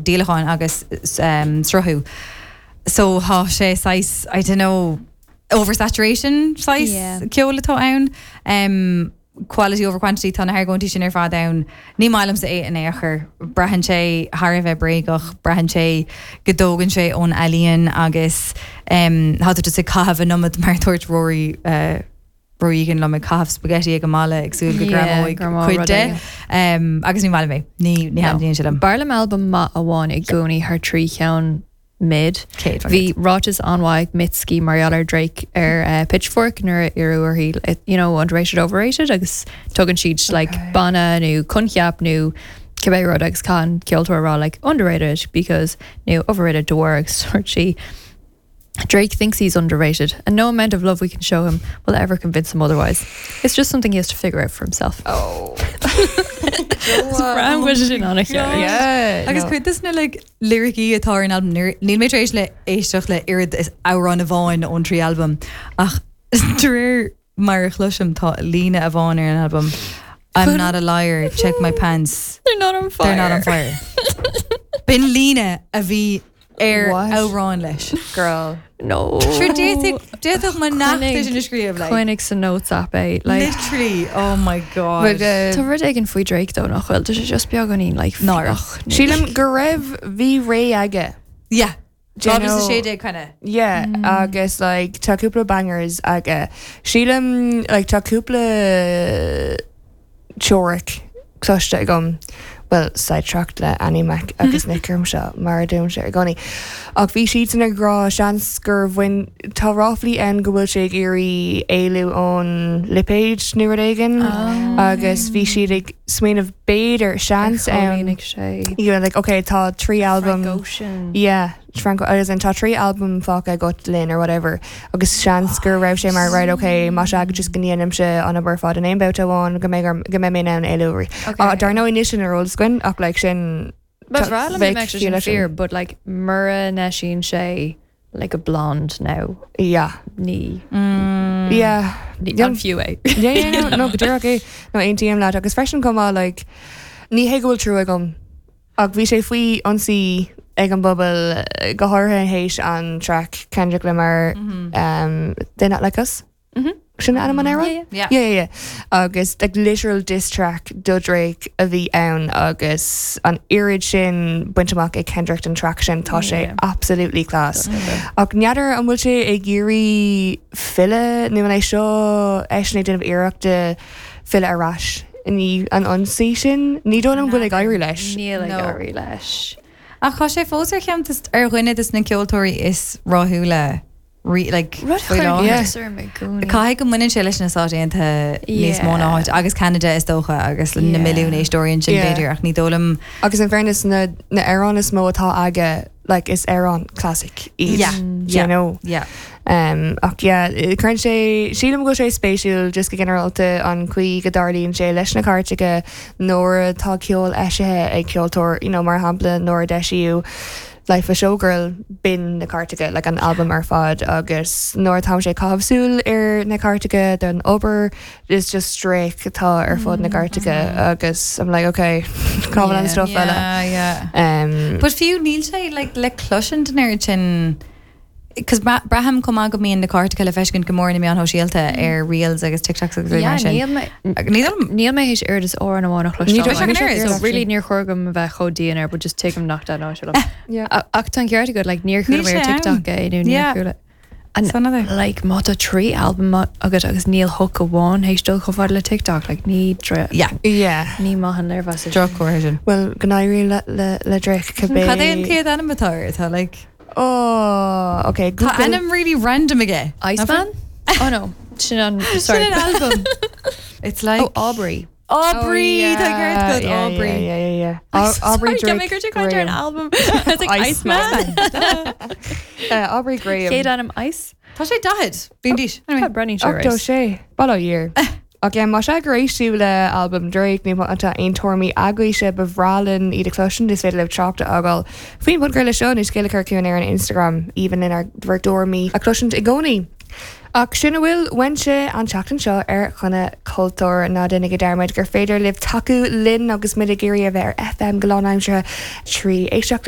díolacháin agus sruthú. So tá sé saghas, I don't know, oversaturation saghas ceoil atá ann. Quality over quantity, tá na hargóintí sin ar fad ann. Ní maith liomsa é in aon chor. Braitheann sé thar a bheith bréagach, braitheann sé go dtógann sé ón ealaíon agus tá tú just ag caitheamh an iomad mar dúirt Rory Rory Egan liom ag caitheamh spaghetti ag an mballa ag súil go greamóidh cuid de. Agus ní maith liom é. Ní ní thaitníonn sé liom. B'fhearr liom albam maith amháin i gcónaí thar 3 cheann mid. Bhí ráiteas an-mhaith ag Mitski mar gheall ar Drake ar Pitchfork nuair a iarradh uirthi you know underrated overrated agus tugann siad like banna nó coincheap nó cibé rud agus caithfidh an ceoltóir a rá like underrated because nó overrated de bharr agus dúirt sí Drake thinks he's underrated and no amount of love we can show him will ever convince him otherwise. It's just something he has to figure out for himself. Oh. Sin an-cheart. Agus cuid de na like liricí atá ar an albam, níl mé tar éis le éisteacht le oiread is amhrán amháin ón trí albam ach de réir mar a chloisim tá líne amháin ar an albam I'm not a liar, check my pants. They're not on fire. They're not on fire. B'in líne a bhí ar amhrán leis. Girl. No. Sure d'fhéadfadh mo neacht é sin a scríobh like. Coinnigh sa notes app é. Like. Literally, oh my god. But, uh, Tá rud éigin faoi Drake though nach bhfuil, tá sé just beagáinín like Náireach. Sílim go raibh bhí ré aige. Yeah. Do you know? 2016 kind of. Yeah, agus like tá cúpla bangers aige. Sílim like tá cúpla teoiric cloiste agam, bhuel, sidetracked le Annie Mac agus Nick orm seo, mar a deirimse i gcónaí. Ach bhí siadsan ag rá, seans gur bhain, tá ráflaí ann go bhfuil sé ag iarraidh éalú ón lipéad nó rud éigin agus bhí siad ag smaoineamh b'fhéidir, seans ann, Chomhlíonfaidh sé. you know, like, okay, tá 3 albam, Frank Ocean. yeah. Frank as in tá 3 albam fágtha agat linn or whatever agus seans go raibh sé mar right ok más ea just go ndéanaimse an obair ar fad in aon babhta amháin go mbeidh orm go mbeidh mé in ann éalú uirthi. Ok. Dar ndóigh níl sin ar eolas againn ach like sin Ba bhreá liom dá bheadh mbeadh sé ciall sin leis sin. fíor but like mura n-eisíonn sé like a blonde now Yeah. ní Yeah. ní Yeah. an fiú é. Yeah, yeah, no, no, go díreach é. No, aontaím leat agus freisin chomh maith like ní hé go bhfuil trua agam Ach bhí sé faoi ionsaí ag an bpobal, go háirithe théis an traic Kendrick Lamar, They're Not Like Us? Sin ainm an amhráin? Yeah. Yeah, yeah, yeah. Agus like literal diss track do Drake a bhí ann agus an oiread sin bainte amach ag Kendrick don track sin, tá sé absolutely class. Ach n'fheadar an bhfuil sé ag iarraidh filleadh nó an é seo eisean ag déanamh iarrachta filleadh ar ais i ndiaidh an ionsaí sin. Ní dóigh liom go bhfuil ag éirí leis. Níl ag No. éirí leis. Ach tá sé fós ar cheann des, ar dhuine des na ceoltóirí is rathúla rí, like, Rud a faoi chuireann láthair. iontas orm i gcónaí. Caithfidh go mbaineann sé leis na Stáit Aontaithe níos mó ná Yeah. áit agus Ceanada is dócha agus na Yeah. milliúin éisteoirí ansin Yeah. b'fhéidir ach ní dóigh liom Agus in fairness na na amhráin is mó atá aige like is amhráin classic iad. Yeah, Do yeah. you know? yeah. Um, ach yeah, cuireann sé, sílim go bhfuil sé spéisiúil just go ginearálta an chaoi go dtarlaíonn sé leis na cairteacha nuair atá ceol eisithe ag ceoltóir, you know, mar shampla nuair a d'eisíodh Life of a Showgirl, b'in na cairteacha, like an albam ar fad agus nuair atáimse ag caitheamh súil ar na cairteacha don obair, is just Drake atá ar fud na gcairteacha agus I'm like, okay, cá bhfuil an stuff eile? Yeah, yeah. Um, But fiú níl sé like, le cloisint an oiread sin Cos braithim chomh maith go mbíonn na cairteacha le feiscint go mór ar na meáin shóisialta ar reels agus TikToks agus rudaí Yeah, mar sin. níl mé Níl níl mé théis oiread is amhrán amháin a Ní chloisteáil. dóigh an oiread. So really níor chóir dom a bheith chomh dian air, but just tuigim nach dtaitneodh sé liom. Yeah. Ach tá an ceart agat, like níor chuala Níl mé ar sé ann. TikTok é nó níor Yeah. chuala. And So another. like má tá 3 albam agat agus níl hook amháin théis dul chomh fada le TikTok, like ní dre Yeah. Yeah. ní maith an léirmheas é sin. Droch-chomhartha sin. Well, go n-éirí le, le, le Drake cibé. Cad é an chéad ainm atá air? Tá like Oh, ok. Tá Google. ainm really random aige. Iceman? Oh no, sin an sorry. Sin an album. It's like Oh, Aubrey. Aubrey, Oh, tá ceart agat, yeah, Aubrey. Yeah, yeah, yeah, yeah. Au- Aubrey Sorry, Drake. Drake Graham. an Graham. album. I was like Iceman. Iceman. Uh, Aubrey Graham. Chéad ainm Ice. Tá sé 40 bliain d'aois. Anyway. Tá breathnaíonn sé 86. Bail ó Dhia air. Ach yeah, más ea gur éist sibh le albam Drake nó má tá aon tuairimí agaibhse ba bhreá linn iad a chloisint, is féidir libh trácht a fhágáil faoin bpodchraoladh seo nó scéal a chur chugainn ar an Instagram. Aoibhinn linn ár bhur dtuairimí a chloisint i gcónaí. Ach sin a bhfuil uaimse an tseachtain seo ar Choinne Cultúir. Ná déanaigí dearmad gur féidir libh tacú linn agus muid ag iarraidh a bheith ar FM go lánaimseartha trí éisteacht linn.